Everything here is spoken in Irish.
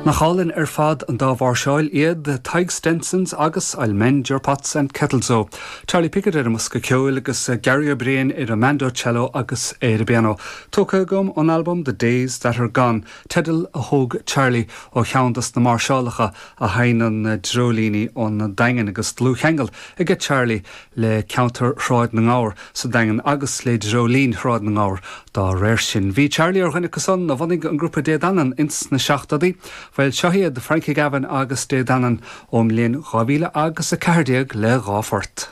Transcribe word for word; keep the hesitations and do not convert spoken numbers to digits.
Nach álainn ar fad an dá mháirseáil iad Tadhg Stenson's agus I'll Mend Your Pots and Kettles O. Charlie Pickett ar an mbosca ceoil agus Gary Ó Briain ar an mandocello agus ar an bpianó. Tógtha agam ón album The Days That Are Gone, teideal a thóg Charlie ó cheann des na máirseálacha a sheinneann Dreoilíní ón Daingean agus dlúthcheangal aige Charlie le ceantar Shráid na nGabhar sa Daingean agus le Dreoilín Shráid na nGabhar dá réir sin. Bhí Charlie ar dhuine acusan a bhunaigh an grúpa Dé Danann ins na seachtóidí, Bhuel seo iad Frankie Gavin agus Dé Danann ón mbliain dhá mhíle agus a ceathair déag le dhá phort.